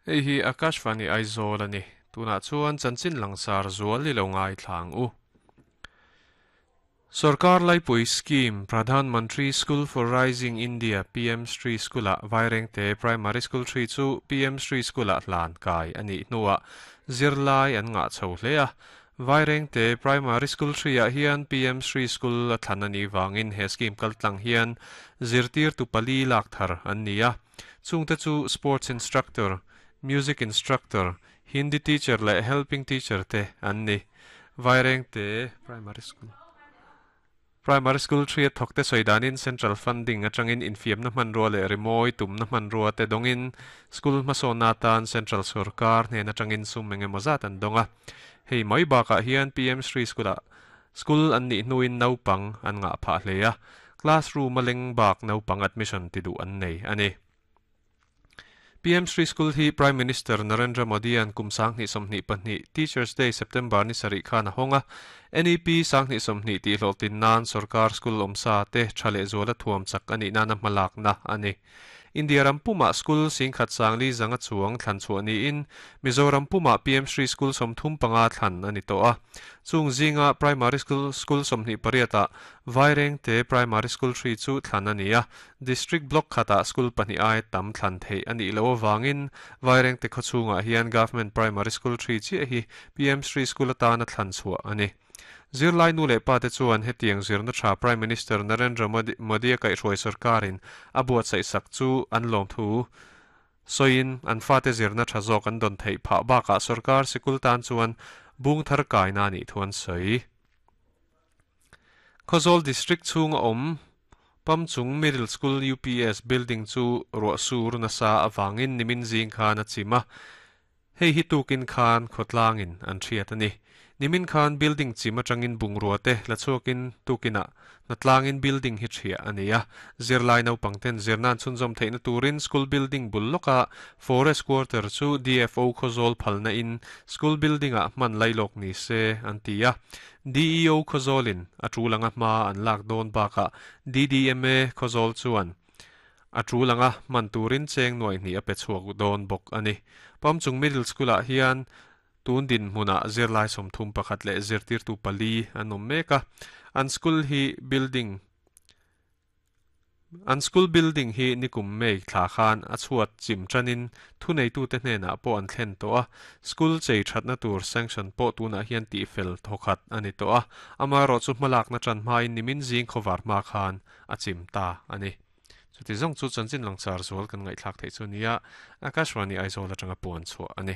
Hei hi Akashvani Aizawl a ni. Tunah chuan chanchin langsar zual i lo ngaithla ang u. Sorkar Laipui Scheme, Pradhan Mantri School for Rising India, PM Shri School-ah Vairengte Primary School hri chu PM Shri School-ah hlan kai a nih hnuah zirlai an ngah chho hle a. Vairengte Primary School hri-ah hian PM Shri School a thlan a nih vangin he scheme kaltlang hian zirtirtu pali lak thar an ni a. Chungte chu Sports Instructor, Music Instructor, Hindi Teacher leh Helping Teacher te an ni. Vairengte Primary School Primary School hriat thawkte sawi danin Central Funding atangin infiamna hmanrua leh rimawi tumna hmanrua te dawngin School hmasawnna atan Central Sorkar hnen atangin sum eng emaw zat an dawng a. Hei mai bakah hian PM Shri School-ah School an nih hnuin naupang an ngah phah hle a, classroom a leng bak naupang admission ti duh an nei a ni. PM Shri School hi Prime Minister Narendra Modi-a'n kum 2022 Teachers Day September ni sarih khan a hawng a, NEP 2020 tih hlawhtlin nan sorkar school awmsa te tha leh zuala thuam chak a nih nana hmalakna a ni. India ram pumah school singkhat sangli zanga chuang thlan chhuah niin Mizoram pumah PM Shri School 35 thlan a ni tawh a. Chung zinga Primary School School 28 ah Vairengte Primary School hri chu thlan a ni a. District Block khatah school pahnih ai tam thlan theih a nih loh avangin Vairengte khawchhungah hian Government Primary School hri chiah hi PM Shri School atana thlan chhuah a ni. Zirlai nu leh pate chuan hetiang zirna tha Prime Minister Narendra Modi a kaihhruai sorkarin a buatsaih sak chu an lawmthu sawiin an fate zirna tha zawk an dawn theih phah bakah sorkar sikul tan chuan bung thar kaina a nih thu an sawi. Khawzawl District chhunga awm Pamchung Middle School UPS building chu ruah sur nasa avangin nimin zing khan a chim a, Hei hi tukin khan khawtlangin an hriat a ni. Nimin khan building chim atangin bungrua te la chhuakin tukinah hnatlangin building hi thiah a ni a. Zirlai naupang ten zirnan chhunzawm theihna turin school building bul lawka forest quarter chu DFO Khawzawl phalna in school building ah hman lailawk ni se an ti a. DEO Khawzawlin a tul anga hma an lak dawn bakah DDMA Khawzawl chuan A tul anga hman turin cheng nuai hnih a pe chhuak dawn bawk a ni. Pamchung Middle School-ah hian tun dinhmunah zirlai 31 leh zirtirtu pali an awm mek a. An school hi building An school building hi nikum May thla khan a chhuat chim tanin thuneitute hnenah pawh an thlen tawh a. School chei thatna tur sanction pawh tunah hian tihfel thawkhat a ni tawh a. Amaherawhchu hmalakna tan hmain nimin zing khawvar hma khan a chim ta a ni. Chuti zawng chu chanchin langchar zual kan ngaihthlak theih chu nia, Akashvani Aizawl atanga puan chhuah a ni.